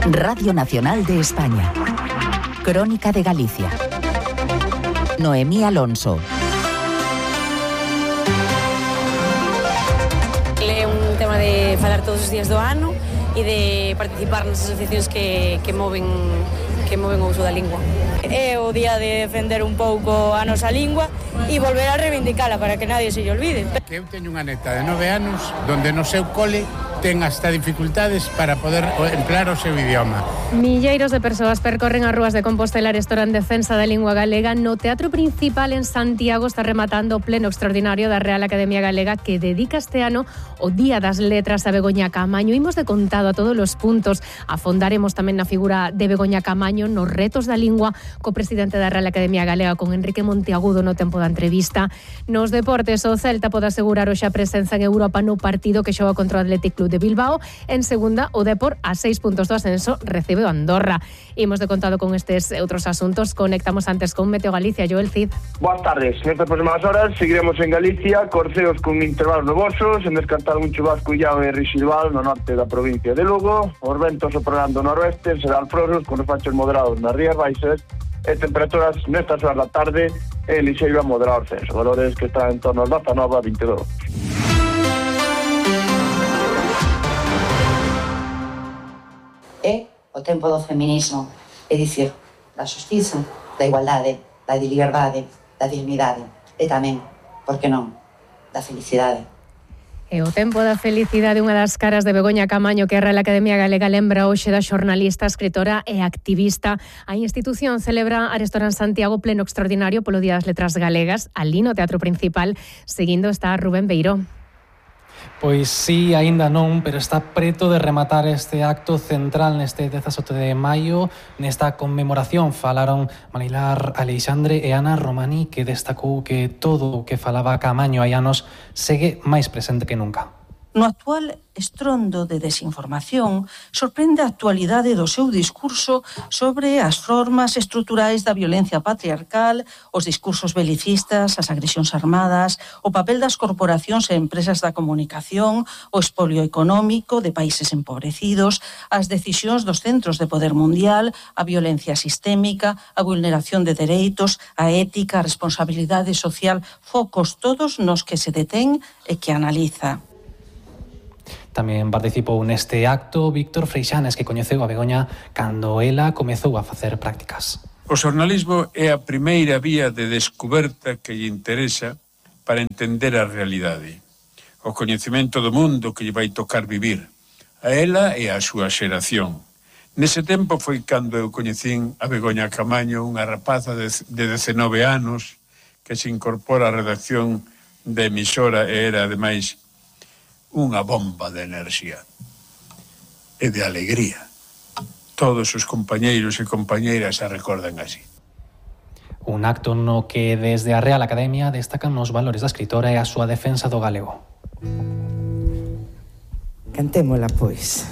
Radio Nacional de España. Crónica de Galicia. Noemí Alonso. É un tema de falar todos os días do ano e de participar nas asociacións que moven o uso da lingua. É o día de defender un pouco a nosa lingua e volver a reivindicala para que nadie se lle olvide. Eu teño unha neta de 9 anos donde no seu cole ten hasta dificultades para poder emplear o seu idioma. Milleiros de persoas percorren as rúas de Compostela e en defensa da lingua galega. No Teatro Principal en Santiago está rematando o pleno extraordinario da Real Academia Galega que dedica este ano o Día das Letras a Begoña Caamaño. Imos de contado a todos os puntos. Afondaremos tamén na figura de Begoña Caamaño nos retos da lingua co presidente da Real Academia Galega, con Enrique Monteagudo, no tempo da entrevista. Nos deportes, o Celta pode asegurar hoxe a presenza en Europa no partido que xoga contra o Athletic Club de Bilbao. En segunda, o Depor, a 6 puntos do ascenso, recibe o Andorra. Imos de contado con estes outros asuntos. Conectamos antes con Meteo Galicia. Joel Cid. Boas tardes. Nestas próximas horas seguiremos en Galicia, corceos con intervalos nubosos, en descartar un chubasco illado e residual no norte da provincia de Lugo. Os ventos soprando do noroeste serán frosos con refachos moderados nas rías baixas e temperaturas nestas horas da tarde en lixeiro a moderado ascenso, valores que están en torno aos 19 a 22. É o tempo do feminismo, é dicir, da xustiza, da igualdade, da liberdade, da dignidade e tamén, por que non, da felicidade. E o tempo da felicidade, unha das caras de Begoña Caamaño, que a Real Academia Galega lembra hoxe da xornalista, escritora e activista. A institución celebra arestora en Santiago pleno extraordinario polo Día das Letras Galegas, ali no Teatro Principal. Seguindo está Rubén Beiró. Pois sí, aínda non, pero está preto de rematar este acto central neste 17 de maio. Nesta conmemoración falaron Marilar Aleixandre e Ana Romani, que destacou que todo o que falaba Caamaño hai anos segue máis presente que nunca. No actual estrondo de desinformación, sorprende a actualidade do seu discurso sobre as formas estruturais da violencia patriarcal, os discursos belicistas, as agresións armadas, o papel das corporacións e empresas da comunicación, o expolio económico de países empobrecidos, as decisións dos centros de poder mundial, a violencia sistémica, a vulneración de dereitos, a ética, a responsabilidade social, focos todos nos que se detén e que analiza. Tamén participou neste acto Víctor Freixanes, que coñeceu a Begoña cando ela comezou a facer prácticas. O xornalismo é a primeira vía de descoberta que lle interesa para entender a realidade, o coñecemento do mundo que lle vai tocar vivir, a ela e a súa xeración. Nese tempo foi cando eu coñecín a Begoña Caamaño, unha rapaza de 19 anos que se incorpora á redacción da emisora e era, ademais, unha bomba de enerxía e de alegría. Todos os compañeiros e compañeiras a recordan así. Un acto no que desde a Real Academia destacan os valores da escritora e a súa defensa do galego. Cantémola, pois.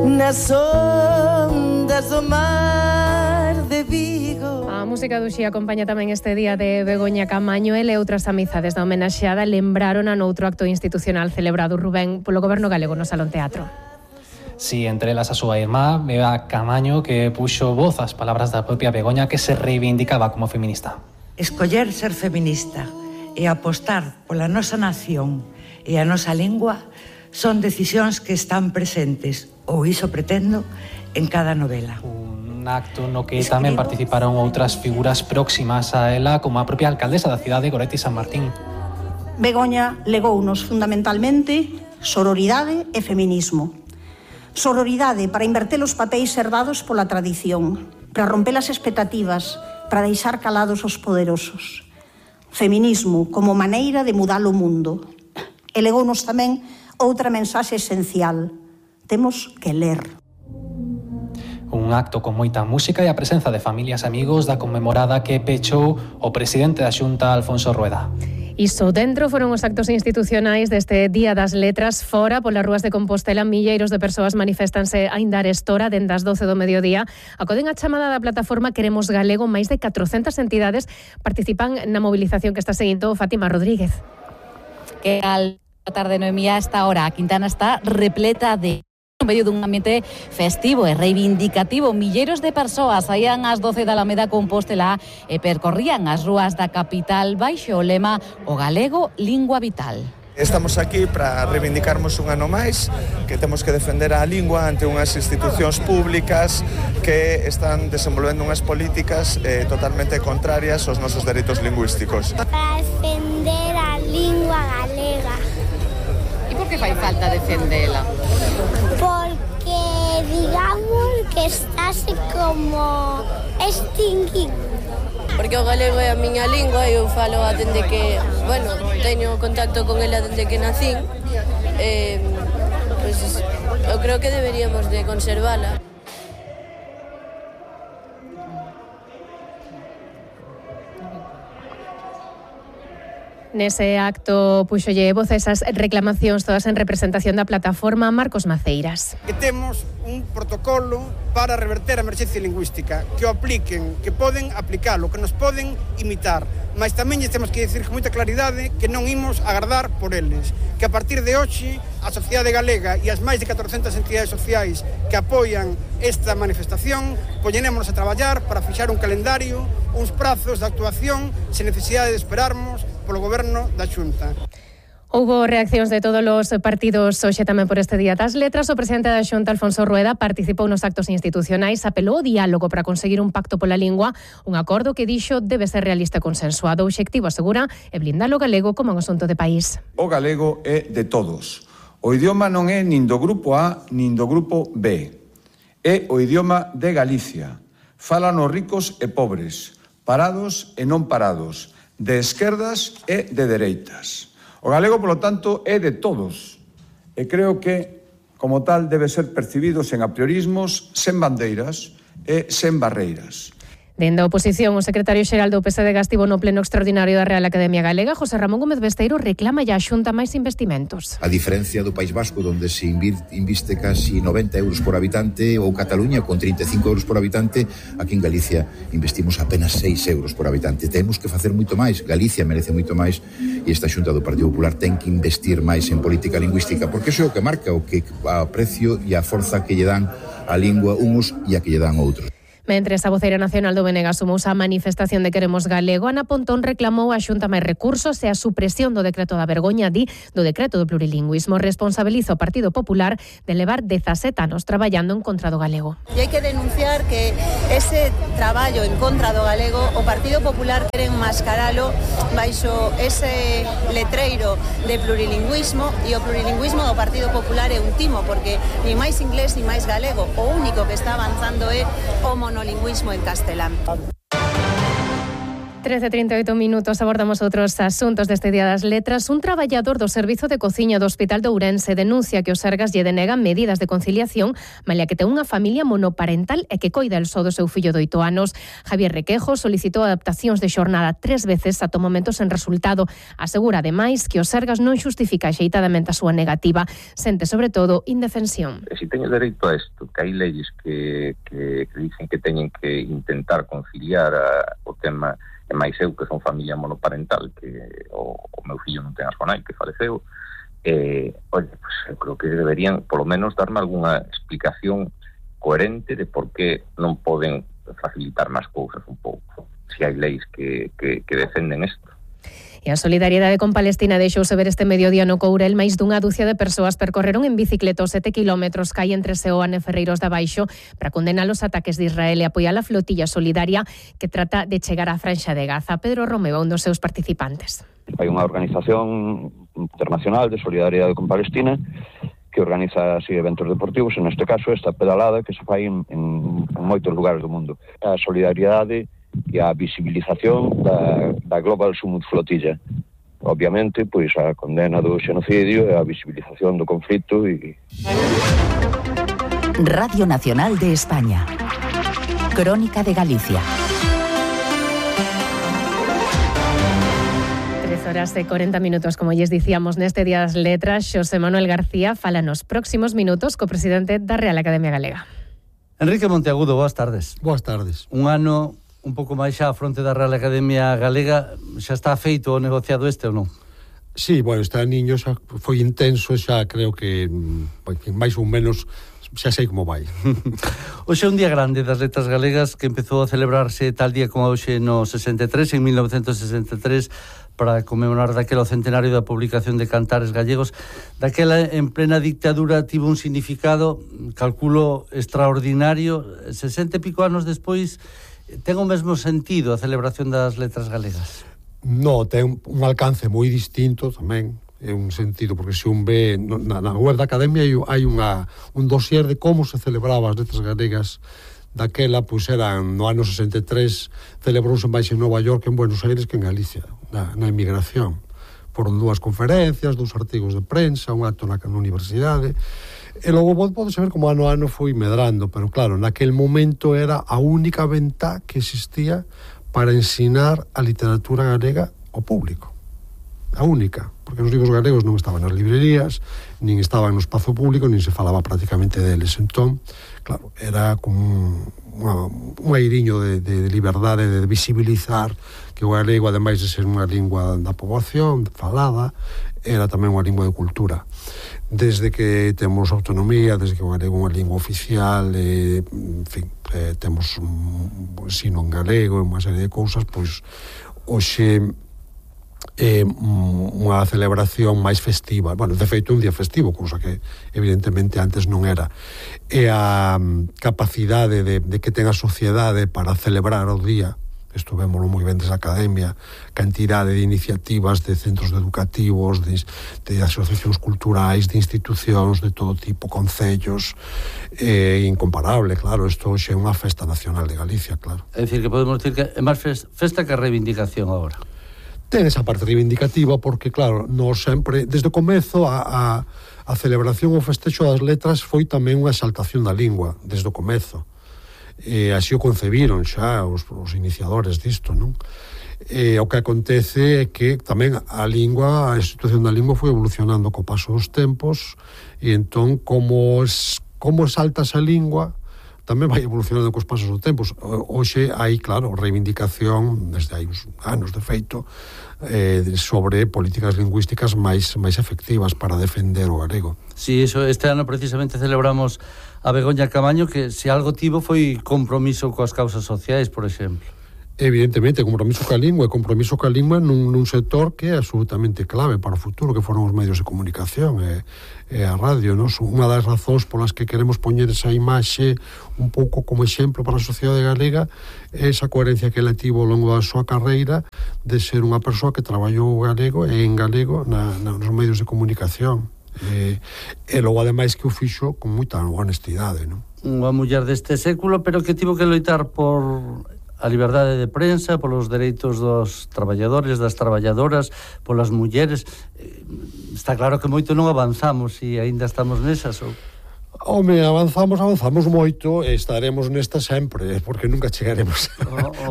Nas ondas do mar de Vigo. A música do Xi acompaña tamén este día de Begoña Caamaño. Ele e outras amizades da homenaxeada lembraron a noutro acto institucional celebrado, Rubén, polo Goberno galego no Salón Teatro. Sí, entre elas a súa irmá, Bea Caamaño, que puxo voz ás palabras da propia Begoña, que se reivindicaba como feminista. Escoller ser feminista e apostar pola nosa nación e a nosa lingua son decisións que están presentes, ou iso pretendo, en cada novela. Un acto no que tamén participaron outras figuras próximas a ela, como a propia alcaldesa da cidade, Goretti San Martín. Begoña legounos fundamentalmente sororidade e feminismo. Sororidade para inverter os papéis herdados pola tradición, para romper as expectativas, para deixar calados os poderosos. Feminismo como maneira de mudar o mundo. E legounos tamén outra mensaxe esencial. Temos que ler. Un acto con moita música e a presenza de familias e amigos da conmemorada que pechou o presidente da Xunta, Alfonso Rueda. Iso dentro foron os actos institucionais deste Día das Letras. Fora, polas rúas de Compostela, milleiros de persoas manifestanse aínda arestora dende as 12 do mediodía. Acoden a chamada da plataforma Queremos Galego. Máis de 400 entidades participan na movilización que está seguindo Fátima Rodríguez. Que al A tarde, Noemía, a esta hora a Quintana está repleta de... En medio dun ambiente festivo e reivindicativo, milleiros de persoas saían ás 12 da Alameda Compostela e percorrían as rúas da capital baixo o lema "O galego, lingua vital". Estamos aquí para reivindicarmos un ano máis que temos que defender a lingua ante unhas institucións públicas que están desenvolvendo unhas políticas totalmente contrarias aos nosos dereitos lingüísticos. Para defender a lingua galega. E por que fai falta defendela? Porque digamos que estáse como extinguindo. Porque o galego é a miña lingua e eu falo dende que, bueno, teño contacto con ela dende que nacín. Pois eu creo que deberíamos de conservala. Nese acto puxolle voz a esas reclamacións todas en representación da plataforma Marcos Maceiras. Que temos un protocolo para reverter a emerxencia lingüística, que o apliquen, que poden aplicalo, que nos poden imitar, mas tamén temos que dicir con moita claridade que non imos agardar por eles, que a partir de hoxe a sociedade galega e as máis de 400 entidades sociais que apoian esta manifestación poñémonos a traballar para fixar un calendario, uns prazos de actuación sen necesidade de esperarmos polo goberno da Xunta. Houbo reaccións de todos os partidos hoxe tamén por este Día das Letras. O presidente da Xunta, Alfonso Rueda, participou nos actos institucionais, apelou ao diálogo para conseguir un pacto pola lingua, un acordo que dixo debe ser realista e consensuado. O obxectivo, asegura, é blindar o galego como un asunto de país. O galego é de todos. O idioma non é nin do grupo A nin do grupo B. É o idioma de Galicia. Falan os ricos e pobres, parados e non parados, de esquerdas e de dereitas. O galego, polo tanto, é de todos. E creo que, como tal, debe ser percibido sen apriorismos, sen bandeiras e sen barreiras. Dende a oposición, o secretario xeral do PSD estivo no pleno extraordinario da Real Academia Galega. José Ramón Gómez Besteiro reclama a Xunta máis investimentos. A diferencia do País Vasco, onde se inviste casi 90 euros por habitante, ou Cataluña con 35 euros por habitante, aquí en Galicia investimos apenas 6 euros por habitante. Temos que facer moito máis. Galicia merece moito máis e esta Xunta do Partido Popular ten que investir máis en política lingüística, porque iso é o que marca o que a precio e a forza que lle dan a lingua uns e a que lle dan outros. Mentres a voceira nacional do BNG sumouse a manifestación de Queremos Galego, Ana Pontón reclamou a Xunta máis recursos e a supresión do decreto da vergoña, do decreto do plurilingüismo. Responsabiliza o Partido Popular de levar 17 anos traballando en contra do galego. E hai que denunciar que ese traballo en contra do galego o Partido Popular quere enmascaralo baixo ese letreiro de plurilingüismo, e o plurilingüismo do Partido Popular é un timo, porque ni máis inglés ni máis galego, o único que está avanzando é o monolingüismo en castelán. 13:38 minutos, abordamos outros asuntos deste Día das Letras. Un traballador do Servizo de Cociña do Hospital de Ourense denuncia que os Sergas lle denegan medidas de conciliación, malia que ten unha familia monoparental e que coida el só do seu fillo de 8 anos. Javier Requejo solicitou adaptacións de xornada 3 veces ata o momento sen resultado. Asegura, ademais, que os Sergas non xustifica axeitadamente a súa negativa. Sente, sobre todo, indefensión. Se teño dereito a isto, que hai leyes que dicen que teñen que intentar conciliar o tema. E máis eu, que son familia monoparental, que o meu fillo non ten a súa nai, que faleceu, oye, pues eu creo que deberían, polo menos, darme algunha explicación coherente de por que non poden facilitar máis cousas un pouco, se hai leis que defenden isto. E a solidariedade con Palestina deixouse ver este mediodía no Courel. Máis dunha dúcia de persoas percorreron en bicicleta os 7 kilómetros que hai entre Seoane e Ferreiros da Baixo para condenar os ataques de Israel e apoiar a flotilla solidaria que trata de chegar á Franxa de Gaza. Pedro Romeo, un dos seus participantes. Hai unha organización internacional de solidariedade con Palestina que organiza así eventos deportivos, en este caso esta pedalada que se fai en moitos lugares do mundo. A solidariedade e a visibilización da Global Summit Flotilla. Obviamente, pois a condena do xenocidio e a visibilización do conflito e... Radio Nacional de España. Crónica de Galicia. 3:40, como lles dicíamos neste Día das Letras. Xosé Manuel García fala nos próximos minutos co presidente da Real Academia Galega. Enrique Monteagudo, boas tardes. Boas tardes. Un ano un pouco máis xa a fronte da Real Academia Galega, xa está feito o negociado este ou non? Sí, bueno, este aniño xa foi intenso, xa creo que máis ou menos xa sei como vai. Hoxe é un día grande das letras galegas que empezou a celebrarse tal día como hoxe no 63, en 1963, para conmemorar daquela o centenario da publicación de Cantares Gallegos. Daquela, en plena dictadura, tivo un significado, calculo, extraordinario. 60 e pico anos despois, ten o mesmo sentido a celebración das letras galegas? No, ten un alcance moi distinto tamén, é un sentido, porque se un ve na web da Academia hai un dossier de como se celebraba as letras galegas daquela, pois eran no ano 63, celebrouse máis en Nova York, en Buenos Aires, que en Galicia, na emigración. Foron 2 conferencias, 2 artigos de prensa, un acto na universidade, e logo pode saber como ano a ano foi medrando, pero claro, naquel momento era a única ventá que existía para ensinar a literatura galega ao público. A única, porque os libros galegos non estaban nas librerías, nin estaban no espazo público, nin se falaba prácticamente deles. Entón, claro, era como un airiño de liberdade, de visibilizar que o galego, ademais de ser unha lingua da poboación, falada, era tamén unha lingua de cultura. Desde que temos autonomía, desde que o galego é unha lingua oficial, en fin, temos un ensino en galego e unha serie de cousas, pois hoxe é unha celebración máis festiva. Bueno, de feito, un día festivo, cousa que evidentemente antes non era. E a capacidade de que ten a sociedade para celebrar o día, isto vémolo moi ben desde a Academia, cantidade de iniciativas de centros educativos, de asociacións culturais, de institucións de todo tipo, concellos, incomparable, claro, isto hoxe é unha festa nacional de Galicia, claro. É dicir, que podemos dicir que é máis festa que reivindicación agora. Ten esa parte reivindicativa porque, claro, nos sempre, desde o comezo, a celebración ou festexo das letras foi tamén unha exaltación da lingua, desde o comezo. Así o concebiron xa os iniciadores disto, non? O que acontece é que tamén a institución da lingua foi evolucionando co paso dos tempos, e entón, como exaltas a lingua, tamén vai evolucionando cos pasos dos tempos. Hoxe hai, claro, reivindicación, desde hai uns anos de feito, sobre políticas lingüísticas máis efectivas para defender o galego. Sí, eso, este ano precisamente celebramos a Begoña Camaño, que se algo tivo foi compromiso coas causas sociais, por exemplo. Evidentemente, compromiso ca lingua nun sector que é absolutamente clave para o futuro, que foron os medios de comunicación e a radio, non? Unha das razóns polas que queremos poñer esa imaxe un pouco como exemplo para a sociedade galega é esa coherencia que ela tivo ao longo da súa carreira de ser unha persoa que traballou galego e en galego nos medios de comunicación, e logo ademais que o fixo con moita honestidade, non? Unha muller deste século, pero que tivo que loitar por a liberdade de prensa, polos dereitos dos traballadores, das traballadoras, polas mulleres. Está claro que moito non avanzamos e aínda estamos nesas, ou? Home, avanzamos moito e estaremos nesta sempre, porque nunca chegaremos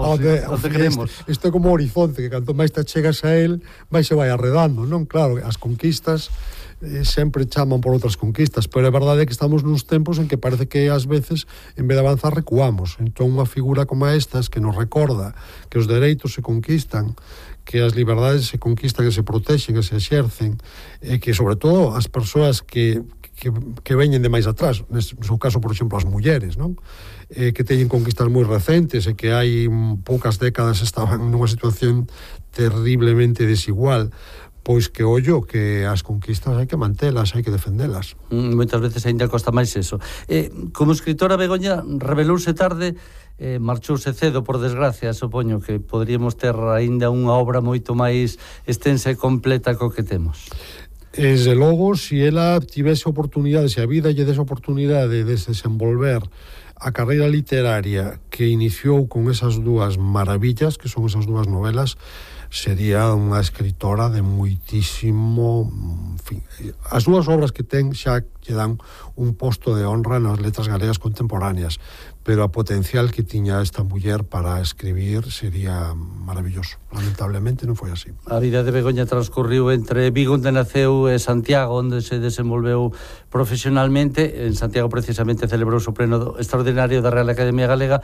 onde queremos. Isto é como o horizonte, que canto máis te chegas a él, máis se vai arredando, non? Claro, as conquistas sempre chaman por outras conquistas, pero é verdade que estamos nuns tempos en que parece que ás veces, en vez de avanzar, recuamos. Entón, unha figura como estas que nos recorda que os dereitos se conquistan, que as liberdades se conquistan e se protexen e se exercen, e que, sobre todo, as persoas que veñen de máis atrás, no seu caso, por exemplo, as mulleres, non? Que teñen conquistas moi recentes e que hai poucas décadas estaban nunha situación terriblemente desigual, pois que ollo, que as conquistas hai que mantelas, hai que defendelas. Moitas veces ainda costa máis eso. Como escritora, Begoña revelouse tarde, marchouse cedo, por desgracia, supoño que poderíamos ter ainda unha obra moito máis extensa e completa co que temos. Desde logo, se ela tivese oportunidade, se a vida lle dese oportunidade de desenvolver a carreira literaria que iniciou con esas dúas maravillas, que son esas dúas novelas, sería unha escritora de moitísimo... En fin, as dúas obras que ten xa lle dan un posto de honra nas letras galegas contemporáneas, pero a potencial que tiña esta muller para escribir sería maravilloso. Lamentablemente non foi así. A vida de Begoña transcorriu entre Vigo, onde naceu, e Santiago, onde se desenvolveu profesionalmente. En Santiago precisamente celebrouse o pleno extraordinario da Real Academia Galega,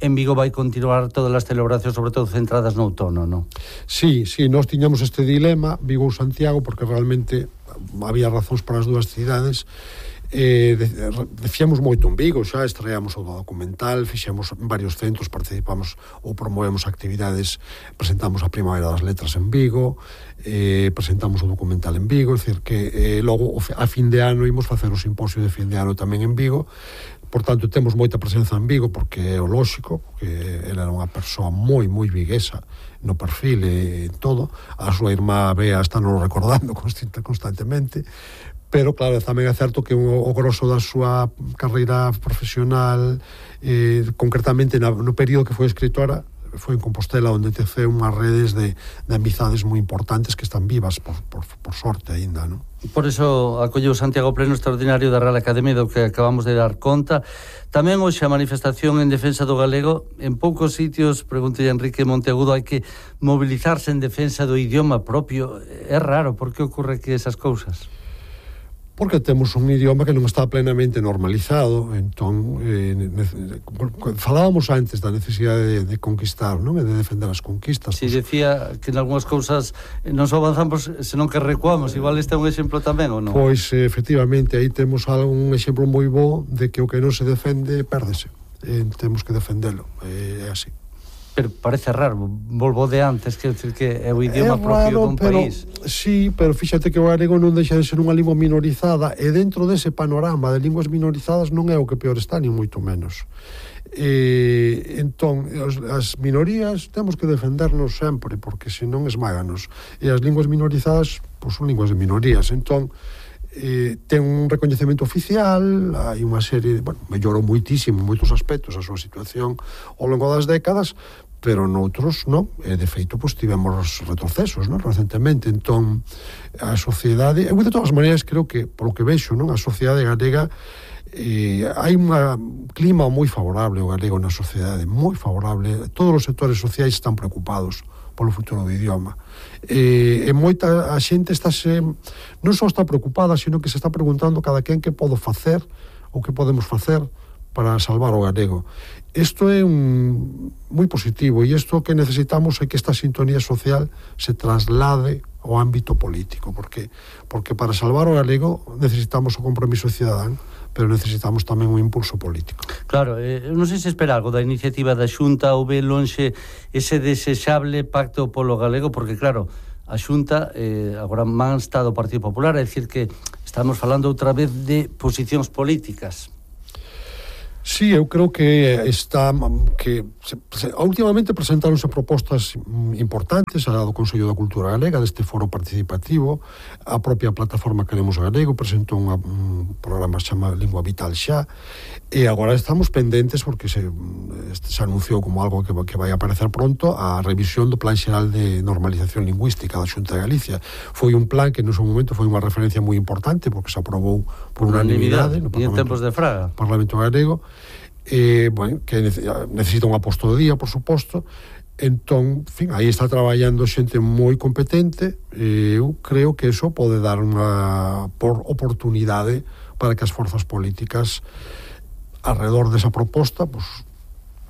en Vigo vai continuar todas as celebracións, sobre todo centradas no outono, non? Sí, nós tiñamos este dilema, Vigo ou Santiago, porque realmente había razóns para as dúas cidades. Fixemos moito en Vigo, xa estreamos o documental, fixemos en varios centros, participamos ou promovemos actividades, presentamos a Primavera das Letras en Vigo, presentamos o documental en Vigo, é dicir que logo a fin de ano imos facer o simposio de fin de ano tamén en Vigo. Por tanto, temos moita presenza en Vigo, porque é o lóxico, que ela era unha persoa moi viguesa no perfil e todo. A súa irmá Bea está nos recordando constantemente, pero claro, tamén é certo que o grosso da súa carreira profesional, concretamente no período que foi escritora, foi en Compostela, onde teceu unhas redes de amizades moi importantes que están vivas, por sorte aínda, non? Por iso acolleu Santiago Pleno Extraordinario da Real Academia, do que acabamos de dar conta. Tamén hoxe a manifestación en defensa do galego. En poucos sitios, preguntei a Enrique Monteagudo, hai que mobilizarse en defensa do idioma propio. É raro, por que ocorre que esas cousas? Porque temos un idioma que non está plenamente normalizado. Entón, falábamos antes da necesidade de conquistar, non? E de defender as conquistas. Si, decía que en algunhas cousas non só avanzamos, senón que recuamos. Igual este é un exemplo tamén, ou non? Pois, efectivamente, aí temos un exemplo moi bo de que o que non se defende, pérdese. Temos que defendelo. É así. Pero parece raro, volvo de antes, quer dizer que é o idioma propio dun país. Sí, pero fíxate que o galego non deixa de ser unha lingua minorizada, e dentro dese panorama de linguas minorizadas non é o que peor está, ni moito menos. Entón, as minorías temos que defendernos sempre, porque senón esmáganos. E as linguas minorizadas, pois son linguas de minorías. Entón, ten un recoñecemento oficial, hai unha serie, mellorou moitísimo en moitos aspectos a súa situación ao longo das décadas, pero noutros non, e de feito pois tivemos retrocesos, non, recentemente. Entón a sociedade, eu de todas maneiras creo que, polo que vexo, non, a sociedade galega, hai un clima moi favorable ao galego na sociedade, moi favorable. Todos os sectores sociais están preocupados polo futuro do idioma, e moita a xente non só está preocupada, sino que se está preguntando cada quen que podo facer ou que podemos facer para salvar o galego. Isto é moi positivo, e isto que necesitamos é que esta sintonía social se traslade ao ámbito político, porque para salvar o galego necesitamos o compromiso cidadán, pero necesitamos tamén un impulso político. Claro, non sei se espera algo da iniciativa da Xunta ou ve lonxe ese desexable pacto polo galego, porque claro, a Xunta agora man está do Partido Popular, é dicir que estamos falando outra vez de posicións políticas. Sí, eu creo que últimamente presentáronse propostas importantes a do Consello da Cultura Galega, deste foro participativo. A propia plataforma Queremos Galego presentou un programa chamado Lingua Vital xa, e agora estamos pendentes, porque se anunciou como algo que vai aparecer pronto, a revisión do Plan Xeral de Normalización Lingüística da Xunta de Galicia. Foi un plan que no seu momento foi unha referencia moi importante, porque se aprobou por unanimidade no Parlamento, e en tempos de Fraga, Parlamento Galego. Que necesita un aposto de día, por suposto. Entón, en fin, aí está traballando xente moi competente, e eu creo que eso pode dar unha oportunidade para que as forzas políticas alrededor desa proposta pues,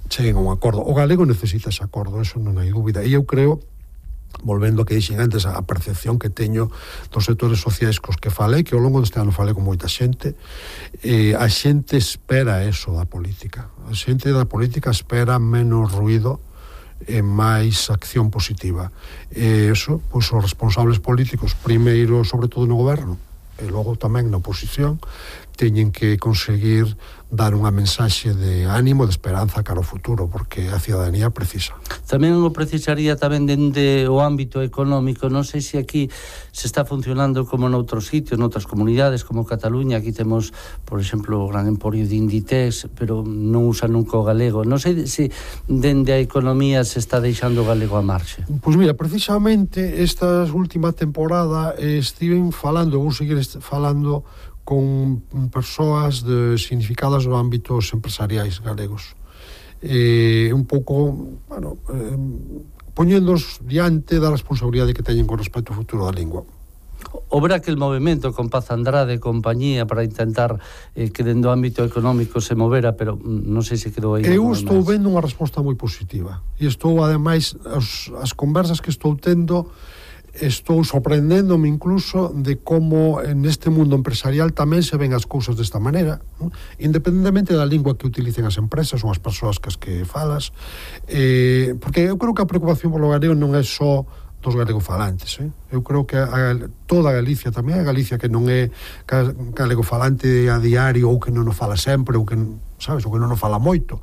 cheguen a un acordo. O galego necesita ese acordo, eso non hai dúbida, e eu creo, volvendo a que dixen antes, a percepción que teño dos sectores sociais cos que falei, que ao longo deste ano falei con moita xente, a xente espera eso da política. A xente da política espera menos ruido e máis acción positiva. E eso, pois os responsables políticos, primeiro, sobre todo no goberno, e logo tamén na oposición, teñen que conseguir dar unha mensaxe de ánimo, de esperanza cara ao futuro, porque a ciudadanía precisa. Tamén o precisaría tamén dende o ámbito económico. Non sei se aquí se está funcionando como noutros sitios, noutras comunidades como Cataluña. Aquí temos, por exemplo, o gran emporio de Inditex, pero non usa nunca o galego. Non sei se dende a economía se está deixando o galego a marxe. Pois mira, precisamente esta última temporada estiven falando, vou seguir falando con persoas significadas no ámbitos empresariais galegos, un pouco poñéndoos diante da responsabilidade que teñen con respecto ao futuro da lingua. Houve aquel movimento con Paz Andrade e compañía para intentar que dentro do ámbito económico se movera, pero non sei se quedou aí. Eu estou vendo unha resposta moi positiva e estou, ademais, as conversas que estou tendo, estou sorprendéndome incluso de como neste mundo empresarial tamén se ven as cousas desta maneira, ¿no? Independentemente da lingua que utilicen as empresas ou as persoas que falas, porque eu creo que a preocupación polo galego non é só dos galegofalantes, Eu creo que toda Galicia, tamén a Galicia que non é galegofalante a diario ou que non o fala sempre ou que, sabes, ou que non o fala moito,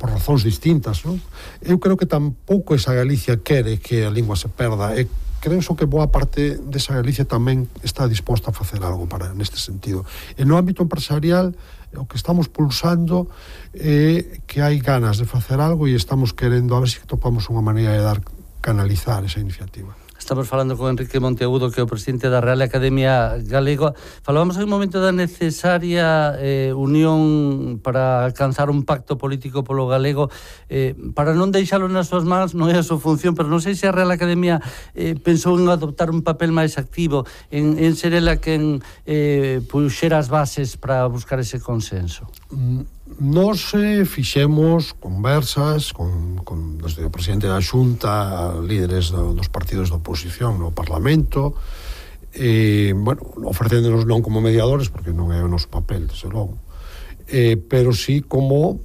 por razóns distintas, non? Eu creo que tampouco esa Galicia quere que a lingua se perda, e creo que boa parte desa Galicia tamén está disposta a facer algo para neste sentido. E no ámbito empresarial, o que estamos pulsando é que hai ganas de facer algo e estamos querendo a ver se topamos unha maneira de canalizar esa iniciativa. Estamos falando con Enrique Monteagudo, que é o presidente da Real Academia Galega. Falábamos hai un momento da necesaria unión para alcanzar un pacto político polo galego, para non deixalo nas súas mans, non é a súa función, pero non sei se a Real Academia pensou en adoptar un papel máis activo, en ser ela quen puxera as bases para buscar ese consenso. Nos fixemos conversas desde o presidente da Xunta, líderes dos partidos da oposición no Parlamento, ofrecéndonos non como mediadores, porque non é o noso papel, desde logo, pero sí como,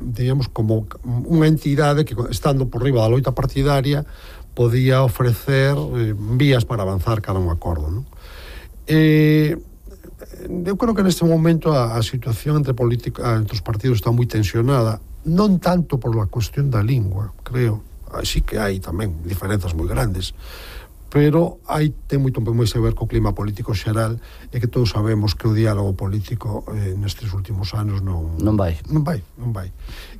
digamos, como unha entidade que, estando por riba da loita partidaria, podía ofrecer vías para avanzar cada un acordo, non? Eu creo que neste momento a situación entre os partidos está moi tensionada, non tanto por a cuestión da lingua, creo, así que hai tamén diferenzas moi grandes, pero ten moito máis a ver co clima político xeral, e que todos sabemos que o diálogo político nestes últimos anos non vai.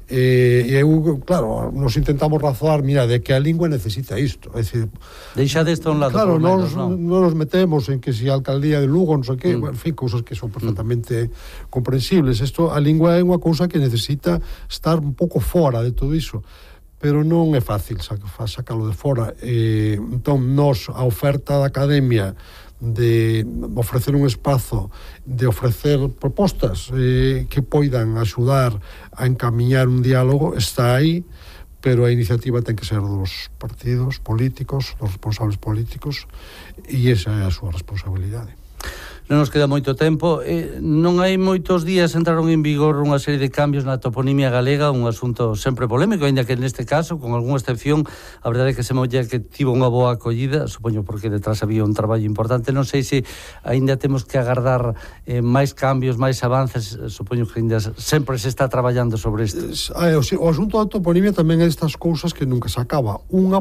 E eu, claro, nos intentamos razoar, mira, de que a lingua necesita isto, é dicir, deixa deste un lado, claro, non nos metemos en que si a alcaldía de Lugo, non sei que, en fin, cousas que son perfectamente comprensibles. Isto, a lingua é unha cousa que necesita estar un pouco fora de todo iso, pero non é fácil sacalo de fora. Entón, a oferta da Academia de ofrecer un espazo, de ofrecer propostas que poidan axudar a encamiñar un diálogo, está aí, pero a iniciativa ten que ser dos partidos políticos, dos responsables políticos, e esa é a súa responsabilidade. Non nos queda moito tempo. Non hai moitos días entraron en vigor unha serie de cambios na toponimia galega, un asunto sempre polémico, ainda que neste caso, con algunha excepción, a verdade é que se molla que tivo unha boa acollida, supoño porque detrás había un traballo importante. Non sei se ainda temos que agardar máis cambios, máis avances, supoño que ainda sempre se está traballando sobre isto. O asunto da toponimia tamén é estas cousas que nunca se acaba. Unha